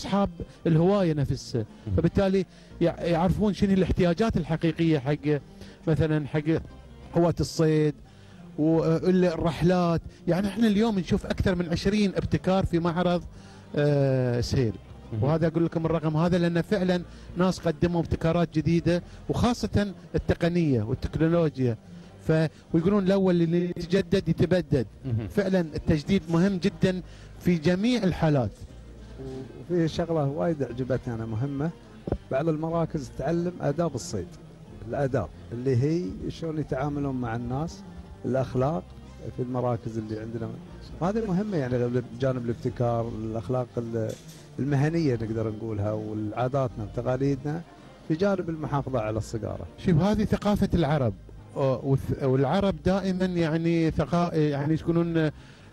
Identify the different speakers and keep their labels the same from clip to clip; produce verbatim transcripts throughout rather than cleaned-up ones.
Speaker 1: اصحاب الهوايه نفسها، فبالتالي يعرفون شنو الاحتياجات الحقيقيه حق مثلا حق هواة الصيد والرحلات. يعني احنا اليوم نشوف اكثر من عشرين ابتكار في معرض آه سهيل، وهذا اقول لكم الرقم هذا لان فعلا ناس قدموا ابتكارات جديده، وخاصه التقنيه والتكنولوجيا. ف ويقولون الاول اللي يتجدد يتبدد. فعلا التجديد مهم جدا في جميع الحالات.
Speaker 2: وفي شغله وايد عجبتني انا مهمه، بعض المراكز تعلم آداب الصيد، الآداب اللي هي شلون يتعاملون مع الناس، الأخلاق في المراكز اللي عندنا، هذه مهمة يعني بجانب الابتكار، الأخلاق المهنية نقدر نقولها، والعاداتنا وتقاليدنا في جانب المحافظة على الصقارة.
Speaker 1: شوف هذه ثقافة العرب، والعرب دائما يعني ثقا يعني يكونون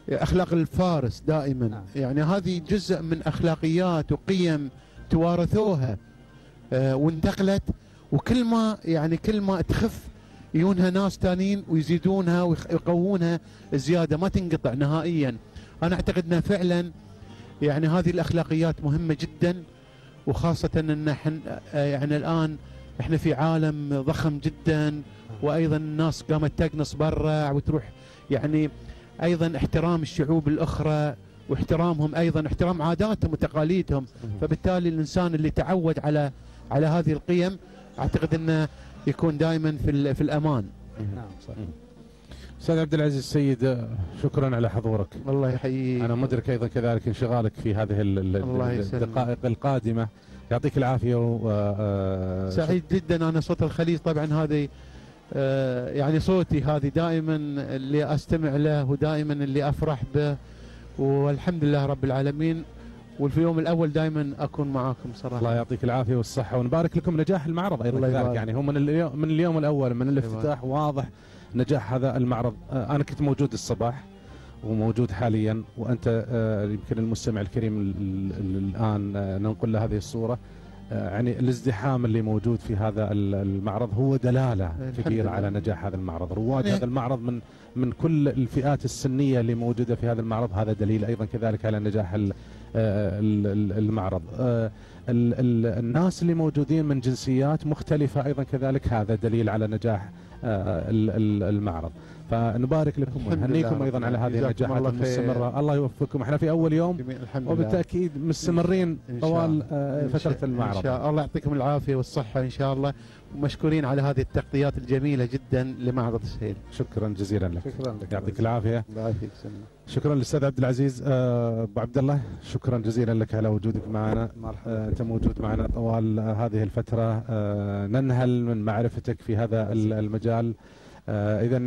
Speaker 1: أخلاق الفارس دائما. نعم. يعني هذه جزء من أخلاقيات وقيم توارثوها آه وانتقلت، وكل ما يعني كل ما تخف يجونها ناس ثانيين ويزيدونها ويقوونها زياده، ما تنقطع نهائيا. انا اعتقد انها فعلا يعني هذه الاخلاقيات مهمه جدا، وخاصه ان احنا يعني الان احنا في عالم ضخم جدا، وايضا الناس قامت تقنص برا وتروح، يعني ايضا احترام الشعوب الاخرى واحترامهم، ايضا احترام عاداتهم وتقاليدهم. فبالتالي الانسان اللي تعود على على هذه القيم اعتقد انه يكون دائما في في الامان.
Speaker 3: نعم صحيح. استاذ عبد العزيز السيد، شكرا على حضورك.
Speaker 1: الله يحييك.
Speaker 3: انا مدرك ايضا كذلك انشغالك في هذه الدقائق القادمه، يعطيك العافيه. و
Speaker 1: سعيد جدا. انا صوت الخليج طبعا هذه يعني صوتي هذه دائما اللي استمع له ودائما اللي افرح به، والحمد لله رب العالمين، وفي اليوم الاول دائما اكون معاكم صراحه.
Speaker 3: الله يعطيك العافيه والصحه، ونبارك لكم نجاح المعرض ايضا كذلك. يعني هو من اليوم من اليوم الاول من الافتتاح واضح نجاح هذا المعرض. انا كنت موجود الصباح وموجود حاليا، وانت يمكن المستمع الكريم الان ننقل له هذه الصوره. يعني الازدحام اللي موجود في هذا المعرض هو دلاله كبيره على نجاح هذا المعرض. رواد هذا المعرض من من كل الفئات السنيه اللي موجوده في هذا المعرض، هذا دليل ايضا كذلك على نجاح المعرض. الناس اللي موجودين من جنسيات مختلفه ايضا كذلك، هذا دليل على نجاح المعرض. فنبارك لكم ونهنيكم ايضا على هذه النجاحات المستمره. الله يوفقكم. احنا في اول يوم وبالتاكيد مستمرين طوال فتره المعرض.
Speaker 1: ان شاء الله. الله يعطيكم العافيه والصحه ان شاء الله، ومشكورين على هذه التغطيات الجميله جدا لمعرض سهيل.
Speaker 3: شكرا جزيلا لك.
Speaker 2: شكرا لك.
Speaker 3: يعطيك العافيه.
Speaker 1: الله يعافيك.
Speaker 3: شكرا للاستاذ عبد العزيز. ابو عبد الله، شكرا جزيلا لك على وجودك معنا.
Speaker 2: مرحبا.
Speaker 3: انت موجود معنا طوال هذه الفتره، ننهل من معرفتك في هذا المجال. إذا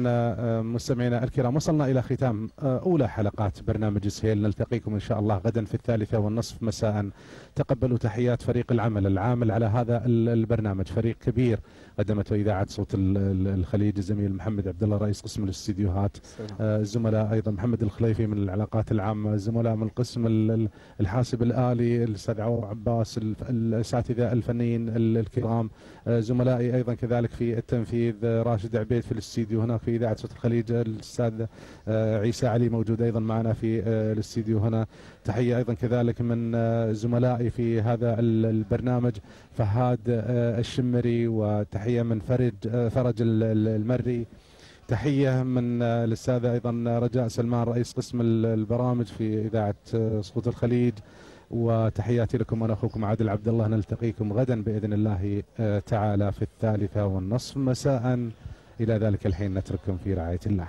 Speaker 3: مستمعينا الكرام، وصلنا إلى ختام أولى حلقات برنامج سهيل. نلتقيكم إن شاء الله غدا في الثالثة والنصف مساء. تقبلوا تحيات فريق العمل العامل على هذا البرنامج، فريق كبير قدمته إذاعة صوت الخليج، الزميل محمد عبد الله رئيس قسم الاستديوهات، الزملاء أيضا محمد الخليفي من العلاقات العامة، الزملاء من القسم الحاسب الآلي الأستاذ عوض عباس، الأساتذة الفنيين الكرام، زملائي أيضا كذلك في التنفيذ راشد عبيد في الاستديو هنا في إذاعة صوت الخليج، الأستاذ عيسى علي موجود أيضا معنا في الاستديو هنا. تحية أيضا كذلك من زملائي في هذا البرنامج فهاد الشمري، وتحية من فرج فرج المري، تحية من الأستاذة أيضا رجاء سلمان رئيس قسم البرامج في إذاعة صوت الخليج، وتحياتي لكم. أنا أخوكم عادل عبد الله. نلتقيكم غدا بإذن الله تعالى في الثالثة والنصف مساء. إلى ذلك الحين نترككم في رعاية الله.